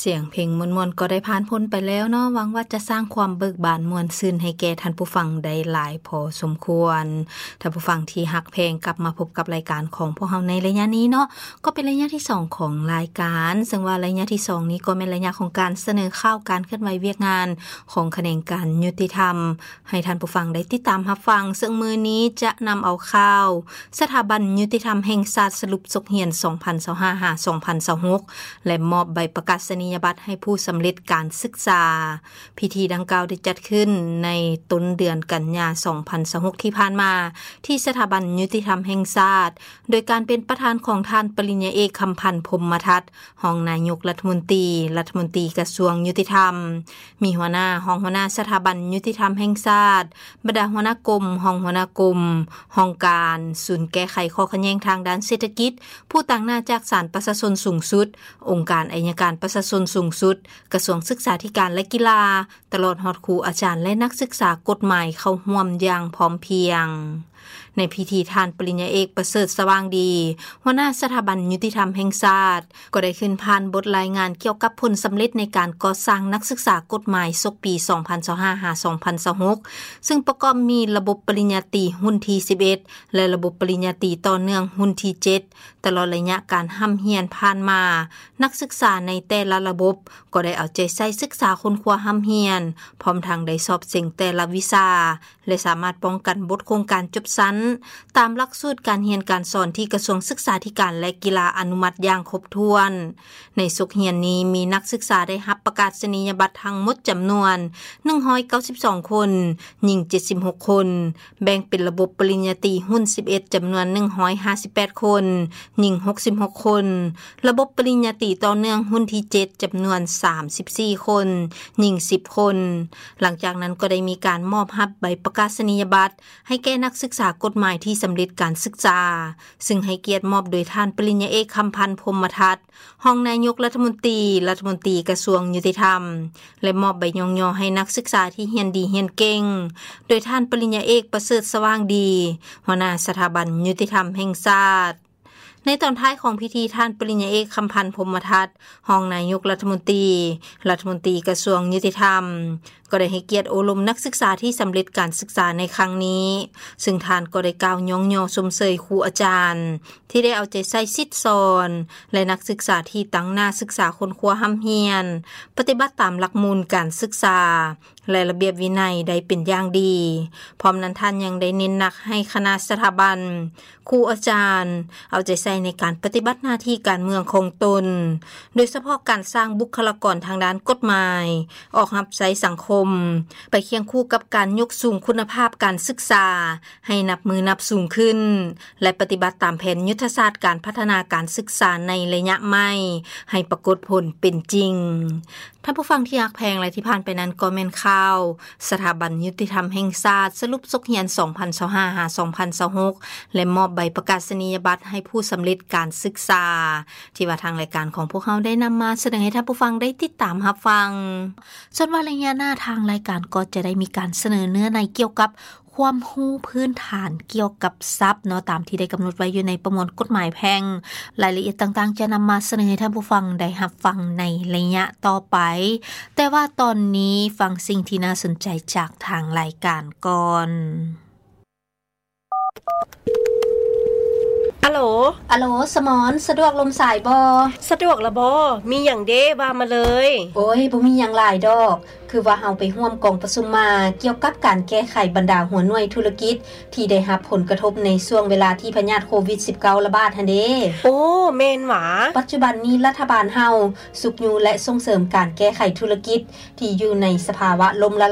ສຽງເພງມ່ວນໆ ກໍໄດ້ຜ່ານພົ້ນໄປແລ້ວເນາະ, ຫວັງວ່າຈະສ້າງຄວາມເບີກບານມ່ວນຊື່ນໃຫ້ແກ່ທ່ານຜູ້ຟັງໄດ້ຫຼາຍພໍສົມຄວນ. ທ່ານຜູ້ຟັງທີ່ຮັກແພງ, ກັບມາພົບກັບລາຍການຂອງພວກເຮົາໃນໄລຍະນີ້ເນາະ, ກໍເປັນໄລຍະທີສອງຂອງລາຍການ, ເຊິ່ງວ່າໄລຍະທີສອງນີ້ກໍແມ່ນໄລຍະຂອງການສະເໜີຂ່າວການເຄື່ອນໄຫວວຽກງານຂອງຂະແໜງການຍຸຕິທຳ ໃຫ້ທ່ານຜູ້ຟັງໄດ້ຕິດຕາມຮັບຟັງ, ເຊິ່ງມື້ນີ້ຈະນຳເອົາຂ່າວ ສະຖາບັນຍຸຕິທຳແຫ່ງຊາດສະຫຼຸບສົກຮຽນສອງພັນຊາວຫ້າ ຫາ ສອງພັນຊາວຫົກ ແລະ ມອບໃບປະກາສະນີຍະບັດໃຫ້ຜູ້ສຳເລັດການສຶກສາ. ພິທີດັ່ງກ່າວໄດ້ຈັດຂຶ້ນໃນຕົ້ນເດືອນກັນຍາ ສອງພັນຊາວຫົກ ທີ່ຜ່ານມາ ທີ່ສະຖາບັນຍຸຕິທຳແຫ່ງຊາດ ໂດຍການເປັນປະທານຂອງທ່ານປະລິນຍາເອກ ຄຳພັນ ພົມມະທັດ ຮອງນາຍົກລັດຖະມົນຕີ, ລັດຖະມົນຕີກະຊວງຍຸຕິທຳ, ມີຫົວໜ້າ, ຮອງຫົວໜ້າສະຖາບັນຍຸຕິທຳແຫ່ງຊາດ, ບັນດາຫົວໜ້າກົມ, ຮອງຫົວໜ້າກົມ, ຫ້ອງການ, ສູນແກ້ໄຂຂໍ້ຂັດແຍ່ງທາງດ້ານເສດຖະກິດ, ຜູ້ຕາງໜ້າຈາກສານປະຊາຊົນສູງສຸດ, ອົງການໄອຍະການປະຊາຊົນສູງສຸດ, ກະຊວງສຶກສາທິການ ແລະ ກິລາ, ຕະຫຼອດຮອດຄູອາຈານ ແລະ ນັກສຶກສາກົດໝາຍເຂົ້າຮ່ວມຢ່າງພ້ອມພຽງ. ໃນພິທີ ທ່ານປະລິນຍາເອກ ປະເສີດ ສະຫວ່າງດີ ຫົວໜ້າສະຖາບັນຍຸຕິທຳແຫ່ງຊາດ ກໍໄດ້ຂຶ້ນຜ່ານບົດລາຍງານກ່ຽວກັບຜົນສຳເລັດໃນການກໍ່ສ້າງນັກສຶກສາກົດໝາຍສົກປີສອງພັນຊາວຫ້າ ຫາ ສອງພັນຊາວຫົກ ເຊິ່ງປະກອບມີລະບົບປະລິນຍາຕີຮຸ່ນທີສິບເອັດ ແລະ ລະບົບປະລິນຍາຕີຕໍ່ເນື່ອງຮຸ່ນທີເຈັດ. ຕະຫຼອດໄລຍະການຮ່ຳຮຽນຜ່ານມາ, ນັກສຶກສາໃນແຕ່ລະລະບົບກໍໄດ້ເອົາໃຈໃສ່ສຶກສາຄົ້ນຄວ້າຮ່ຳຮຽນ, ພ້ອມທັງໄດ້ສອບເສັງແຕ່ລະວິຊາ ແລະ ສາມາດປ້ອງກັນບົດໂຄງການຈົບຊັ້ນ ຕາມຫຼັກສູດການຮຽນການສອນທີ່ກະຊວງສຶກສາທິການ ແລະ ກິລາອະນຸມັດຢ່າງຄົບຖ້ວນ. ໃນສົກຮຽນນີ້ ມີນັກສຶກສາໄດ້ຮັບປະກາສະນີຍະບັດທັງໝົດຈຳນວນໜຶ່ງຮ້ອຍເກົ້າສິບສອງຄົນ, ຍິງເຈັດສິບຫົກຄົນ, ແບ່ງເປັນລະບົບປະລິນຍາຕີຮຸ່ນສິບເອັດ ຈຳນວນໜຶ່ງຮ້ອຍຫ້າສິບແປດຄົນ, ຍິງຫົກສິບຫົກຄົນ, ລະບົບປະລິນຍາຕີຕໍ່ເນື່ອງຮຸ່ນທີເຈັດ ຈຳນວນສາມສິບສີ່ຄົນ, ຍິງສິບຄົນ. ຫຼັງຈາກນັ້ນກໍໄດ້ມີການມອບຮັບໃບປະກາສະນີຍະບັດໃຫ້ແກ່ນັກສຶກສາກົດໝາຍທີ່ສຳເລັດການສຶກສາ, ເຊິ່ງໃຫ້ກຽດມອບໂດຍທ່ານປະລິນຍາເອກ ຄຳພັນ ພົມມະທັດ ຮອງນາຍົກລັດຖະມົນຕີ, ລັດຖະມົນຕີກະຊວງຍຸຕິທຳ ແລະ ມອບໃບຍ້ອງຍໍໃຫ້ນັກສຶກສາທີ່ຮຽນດີຮຽນເກັ່ງ ໂດຍທ່ານປະລິນຍາເອກ ປະເສີດ ສະຫວ່າງດີ ຫົວໜ້າສະຖາບັນຍຸຕິທຳແຫ່ງຊາດ. ໃນຕອນທ້າຍຂອງພິທີ, ທ່ານປະລິນຍາເອກ ຄຳພັນ ພົມມະທັດ ຮອງນາຍົກລັດຖະມົນຕີ, ລັດຖະມົນຕີກະຊວງຍຸຕິທຳ ກໍໄດ້ໃຫ້ກຽດໂອ້ລົມນັກສຶກສາທີ່ສຳເລັດການສຶກສາໃນຄັ້ງນີ້, ເຊິ່ງທ່ານກໍໄດ້ກ່າວຍ້ອງຍໍຊົມເຊີຍຄູອາຈານທີ່ໄດ້ເອົາໃຈໃສ່ສິດສອນ ແລະ ນັກສຶກສາທີ່ຕັ້ງໜ້າສຶກສາຄົ້ນຄວ້າຮ່ຳຮຽນ, ປະຕິບັດຕາມຫຼັກມູນການສຶກສາ ແລະ ລະບຽບວິໄນໄດ້ເປັນຢ່າງດີ. ພ້ອມນັ້ນທ່ານຍັງໄດ້ເນັ້ນໜັກໃຫ້ຄະນະສະຖາບັນ, ຄູອາຈານ ເອົາໃຈໃສ່ໃນການປະຕິບັດໜ້າທີ່ການເມືອງຂອງຕົນ, ໂດຍສະເພາະການສ້າງບຸກຄະລາກອນທາງດ້ານກົດໝາຍອອກຮັບໃຊ້ສັງຄົມ, ໄປຄຽງຄູ່ກັບການຍົກສູງຄຸນນະພາບການສຶກສາໃຫ້ນັບມື້ນັບສູງຂຶ້ນ ແລະ ປະຕິບັດຕາມແຜນຍຸດທະສາດການພັດທະນາການສຶກສາໃນໄລຍະໃໝ່ໃຫ້ປາກົດຜົນເປັນຈິງ. ທ່ານຜູ້ຟັງທີ່ຮັກແພງ, ແລະ ທີ່ຜ່ານໄປນັ້ນກໍແມ່ນຂ່າວ ສະຖາບັນຍຸຕິທຳແຫ່ງຊາດ ສະຫຼຸບສົກຮຽນສອງພັນຊາວຫ້າ ຫາ ສອງພັນຊາວຫົກ ແລະ ມອບໃບປະກາສະນີຍະບັດໃຫ້ຜູ້ສຳເລັດການສຶກສາ ທີ່ວ່າທາງລາຍການຂອງພວກເຮົາໄດ້ນຳມາສະເໜີໃຫ້ທ່ານຜູ້ຟັງໄດ້ຕິດຕາມຮັບຟັງ. ສ່ວນວ່າໄລຍະໜ້າທາງລາຍການກໍຈະໄດ້ມີການສະເໜີເນື້ອໃນກ່ຽວກັບ ຄວາມຮູ້ພື້ນຖານກ່ຽວກັບຊັບເນາະ, ຕາມທີ່ໄດ້ກຳນົດໄວ້ຢູ່ໃນປະມວນກົດໝາຍແພ່ງ. ລາຍລະອຽດຕ່າງໆຈະນຳມາສະເໜີໃຫ້ທ່ານຜູ້ຟັງໄດ້ຮັບຟັງໃນໄລຍະຕໍ່ໄປ, ແຕ່ວ່າຕອນນີ້ຟັງສິ່ງທີ່ໜ້າສົນໃຈຈາກທາງລາຍການກ່ອນ. ອາໂຫຼ ອາໂຫຼ ສະໝອນ, ສະດວກລົມສາຍບໍ່? ສະດວກລະບໍ? ມີຫຍັງເດ ວ່າມາເລີຍ. ໂອ້ຍ, ບໍ່ມີຫຍັງຫຼາຍດອກ. ຄືວ່າເຮົາໄປຮ່ວມກອງປະຊຸມມາ ກ່ຽວກັບການແກ້ໄຂບັນດາຫົວໜ່ວຍທຸລະກິດ ທີ່ໄດ້ຮັບຜົນກະທົບໃນຊ່ວງເວລາທີ່ພະຍາດໂຄວິດສິບເກົ້າ ລະບາດຫັ້ນເດ. ໂອ້ ແມ່ນຫວາ? ປັດຈຸບັນນີ້ລັດຖະບານເຮົາຊຸກຍູ້ ແລະ ສົ່ງເສີມການແກ້ໄຂທຸລະກິດທີ່ຢູ່ໃນສະພາວະລົ້ມລະລາຍ.